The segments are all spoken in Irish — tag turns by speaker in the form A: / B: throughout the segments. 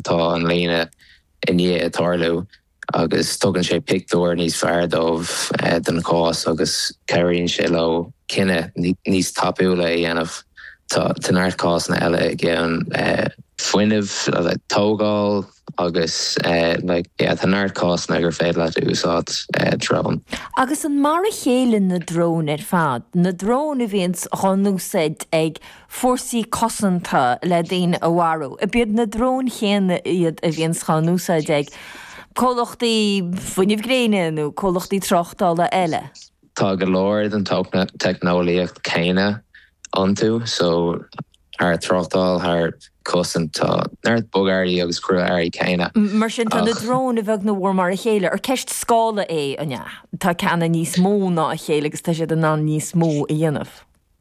A: atá an líne i ndiaidh tarlú agus tugann sé pictiúr níos fearr dóibh den chás agus cabhraíonn sé leo cinneadh níos tapúla a dhéanamh. Tá neart cásanna eile i gceann fuinnimh, tógáil agus like yeah tá neart cásanna gur féidir leat úsáid drón.
B: Agus an mar a chéile na dróin ar fad, na dróin a bhíonns dhá n-úsáid ag fórsaí cosanta le daoine a mharú. Ab iad na dróin chéanna iad a bhíonns dhá n-úsáid ag comhlachtaí fuinnimh gréine nó comhlachtaí tráchtála eile.
A: Tá go leor den teicneolaíocht céanna iontu, so thar tráchtáil, thar cosaint, tá neart bogearraí agus crua-earraí céanna.
B: Mar sin, tá na dróin a bheag nó a mhór mar a chéile. Ar ceist scála é, an ea? Tá ceanna níos mó ná a chéile agus tá siad in ann níos mó a dhéanamh.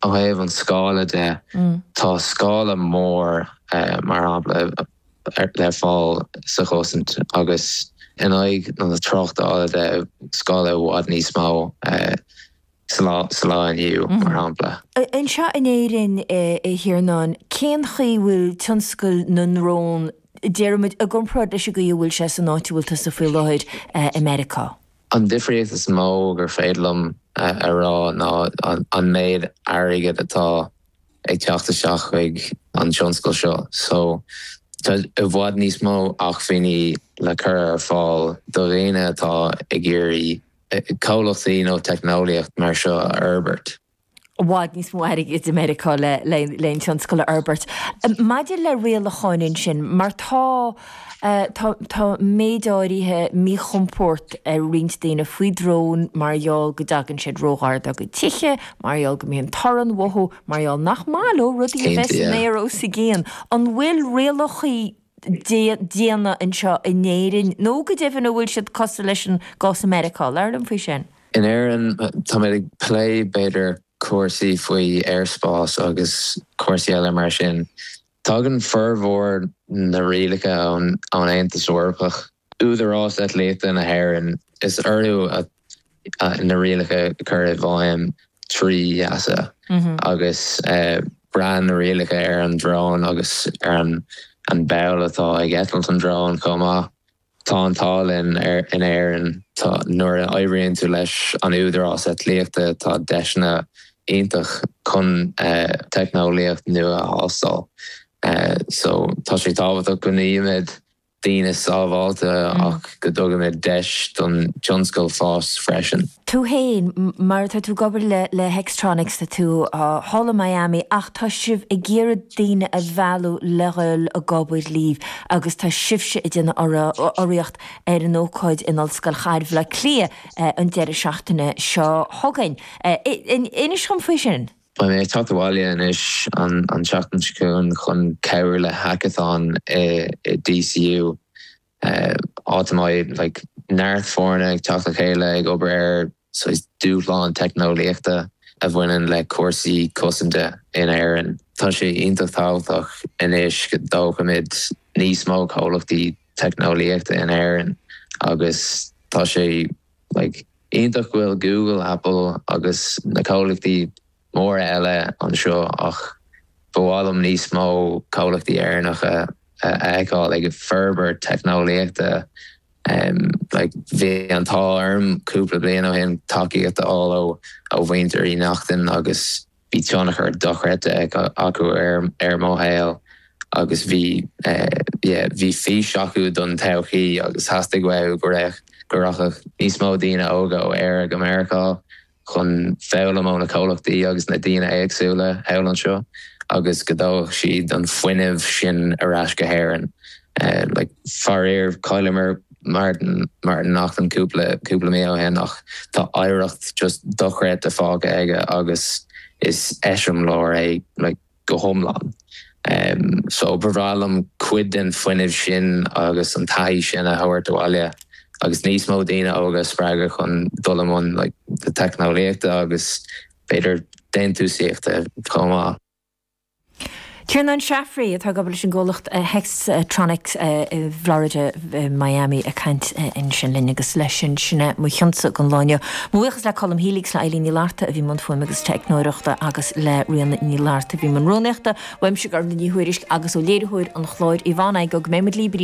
A: Ó thaobh an scála de, tá scála mór, mar shampla, le fáil sa chosaint agus in aghaidh na tráchtála de, scála i bhfad níos mó sa lá inniu, mar shampla.
B: Anseo in Éirinn, a Thiarnáin, cén chaoi a bhfuil tionscal na ndrón, déarfaimid, i gcomparáid leis an gcaoi a bhfuil sé san áit a bhfuil tusa faoi láthair i Meiriceá?
A: An difríocht is mó gur féidir liom a rá ná an méid airgid atá ag teacht isteach chuig an tionscal seo. So, tá i bhfad níos mó acmhainní le cur ar fáil do dhaoine atá ag iarraidh comhlachtaí nó teicneolaíocht mar seo a fhorbairt.
B: i bhfad níos mó airgid i Meiriceá le an tionscal a fhorbairt. Maidir le rialacháin ansin, mar tá, tá, tá méid áirithe míchompord ar roinnt daoine faoi dróin mar gheall go dtagann siad róghar dá gcuid tithe, mar gheall go mbíonn torann uathu, mar gheall nach maith leo rudaí a bheith san aer os a gcionn. An bhfuil rialacha diana anseo in Éirinn nó go deimhin an bhfuil siad cosúil leis an gcás i Meiriceá? Labhair liom faoi sin.
A: In Éirinn, táimid ag plé, b'fhéidir, cúrsaí faoi aerspás agus cúrsaí eile mar sin. Tagann formhór na rialacha ón Aontas Eorpach. Údarás Eitlíochta na hÉireann, is orthu na rialacha a chur i bhfeidhm trí EASA agus braitheann na rialacha ar an drón agus ar an ball atá ag eitilt an drón chomh maith. Tá an t-ádh linn in Éirinn, tá, nuair a oibríonn tú leis an Údarás Eitlíochta tá deiseanna iontach chun teicneolaíocht nua a thástáil. So tá sé tábhachtach go mbímid daoine sábháilte ach go dtugaimid deis don tionscal fás freisin.
B: Tú féin, mar tá tú ag obair le le Hextronics, tá tú thall i Miami ach tá sibh ag iarraidh daoine a mhealladh le dhul ag obair libh agus tá sibhse ag déanamh urraíocht ar an ócáid in Ollscoil Chathair Bhaile Átha Cliath an deireadh seachtaine seo chugainn. Inis dhom faoi sin.
A: Beidh mé ag teacht abhaile anois an tseachtain seo chugainn chun cabhrú le hackathon i DCU, áit a mbeidh like neart foirne ag teacht le chéile ag obair ar saghas dúshlán teicneolaíochta a bhaineann le cúrsaí cosanta in Éirinn. Tá sé iontach tábhachtach anois go dtógfaimid níos mó comhlachtaí teicneolaíochta in Éirinn agus tá sé like iontach go bhfuil Google, Apple agus na comhlachtaí móra eile anseo ach ba mhaith liom níos mó comhlachtaí Éireannacha a fheiceáil ag forbairt teicneolaíochta. Like bhí an t-ádh orm cúpla bliain ó shin tacaíocht a fháil ó ó mhuintir Uí Neachtain agus Bhí tionchar dochreidte acu ar mo shaol agus bhí, yeah, bhí fís acu don todhchaí agus theastaigh uathu go raibh, go rachadh níos mó daoine óga ó Éire go Meiriceá chun foghlaim ó na comhlachtaí agus na daoine éagsúla thall anseo agus go dtógfadh siad an fuinneamh sin ar ais go hÉirinn. Like, faraor, chailleamar Martin, Martin Naughton cúpla, cúpla mí ó shin ach tá oidhreacht just dochreidte fágtha aige agus is eiseamláir é like go hiomlán. So ba bhreá liom cuid den fuinneamh sin agus an taithí sin a thabhairt abhaile agus níos mó daoine óga a spreagadh chun dul i mbun like na teicneolaíochta agus b'fhéidir déantúsaíochta chomh maith.
B: Tiarnán Shaffery, atá ag obair leis an gcomhlacht Hextronics i bhFlorida i Miami ag caint ansin linn agus leis sin, sin é mo chionsa don lá inniu. Mo bhuíochas le Colm Healy agus le Eileen Ní Fhlatharta a bhí i mbun fuaime agus teicneoireachta agus le Ríona Ní Fhlatharta a bhí i mbun rúnaíochta. Uaimse Gormfhlaith Ní Thuairisg agus ó léiritheoir an chláir Yvonne Igoe go mbeidh muid libh arís.